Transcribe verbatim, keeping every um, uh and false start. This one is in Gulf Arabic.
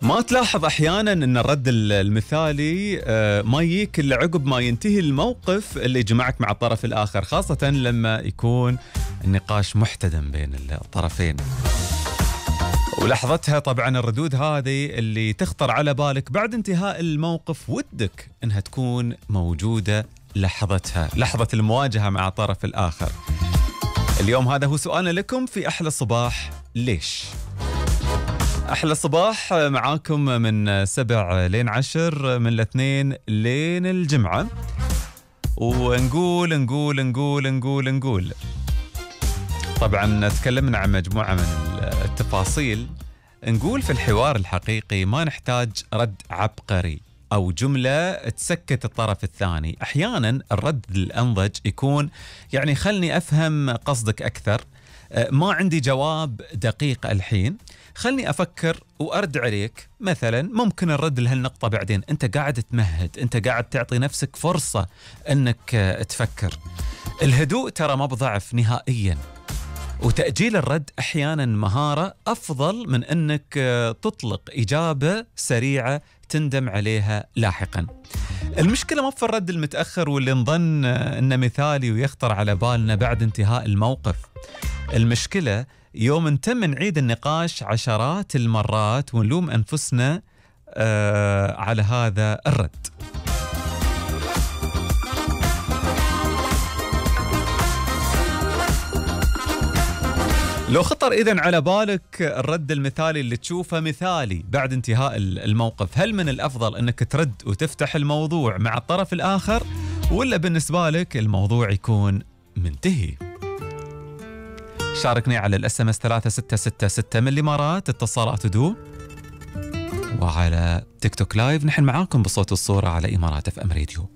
ما تلاحظ أحياناً أن الرد المثالي ما يجيك إلا عقب ما ينتهي الموقف اللي يجمعك مع الطرف الآخر، خاصة لما يكون النقاش محتدم بين الطرفين. ولحظتها طبعاً الردود هذه اللي تخطر على بالك بعد انتهاء الموقف ودك أنها تكون موجودة لحظتها، لحظة المواجهة مع الطرف الآخر. اليوم هذا هو سؤالنا لكم في أحلى صباح. ليش؟ أحلى صباح معاكم من سبع لين عشر، من الاثنين لين الجمعة، ونقول نقول نقول نقول نقول طبعا تكلمنا عن مجموعة من التفاصيل. نقول في الحوار الحقيقي ما نحتاج رد عبقري أو جملة تسكت الطرف الثاني. أحيانا الرد الأنضج يكون يعني خلني أفهم قصدك أكثر، ما عندي جواب دقيق الحين، خلني أفكر وأرد عليك. مثلا ممكن الرد لهالنقطة بعدين، أنت قاعد تمهد، أنت قاعد تعطي نفسك فرصة أنك تفكر. الهدوء ترى ما بضعف نهائيا، وتأجيل الرد أحيانا مهارة أفضل من أنك تطلق إجابة سريعة تندم عليها لاحقا. المشكلة ما في الرد المتأخر واللي نظن أنه مثالي ويخطر على بالنا بعد انتهاء الموقف. المشكلة يوم نتم نعيد النقاش عشرات المرات ونلوم أنفسنا آه على هذا الرد. لو خطر إذن على بالك الرد المثالي اللي تشوفه مثالي بعد انتهاء الموقف، هل من الأفضل أنك ترد وتفتح الموضوع مع الطرف الآخر، ولا بالنسبة لك الموضوع يكون منتهي؟ شاركني على الاس ام اس ثلاثة ستة ستة ستة من الإمارات، اتصالات دو، وعلى تيك توك لايف نحن معاكم بصوت الصورة على إمارات اف ام راديو.